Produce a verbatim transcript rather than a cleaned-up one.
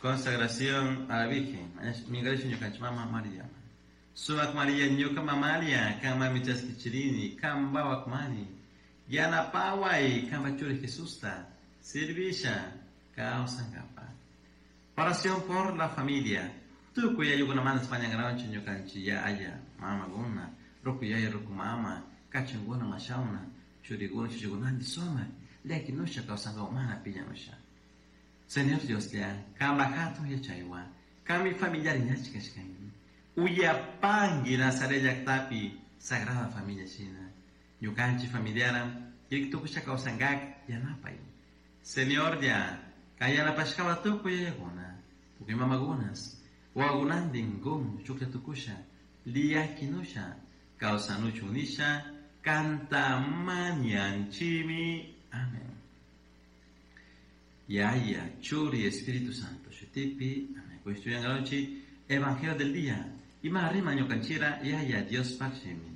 Consagración a la Virgen, Mingarisha ñukanchik mama María. Sumak María ñuka mamalia, kanmanmi chaskichirini, kan wawakmani. Yanapaway, kanpak churi Jesusta, servisha, kawsankapaq. Oración por la familia. Tukuy ayllukunamanta mañankaranchik ñukanchik yaya, mamakuna, ruku yaya, ruku mama, kachankuna, mashawna, churikuna, chuchikunanti sumak, llakinusha kawsankapak mana piñanusha. Señor Dioslla, kanpak hatun yachaywan, kanmi familiar ñachik kashkanki. Uyapanki Nazaret llaktapi Sagrada Familia shina. Ñukanchik familiara, tukusha kawsankak yanapay. Señorlla, kan yanapashkawa tukuy yayakuna, tukuy mamakunas, wawakunantin kun shuklla tukusha, llakinusha, kawsanuchun nisha, kanta mañanchimi. Amén. Yaya, Churi, Espíritu Santo, shutipi, amén. Evangelio del día. Ima rima ñukanchira, Yaya, Diospaj shimi.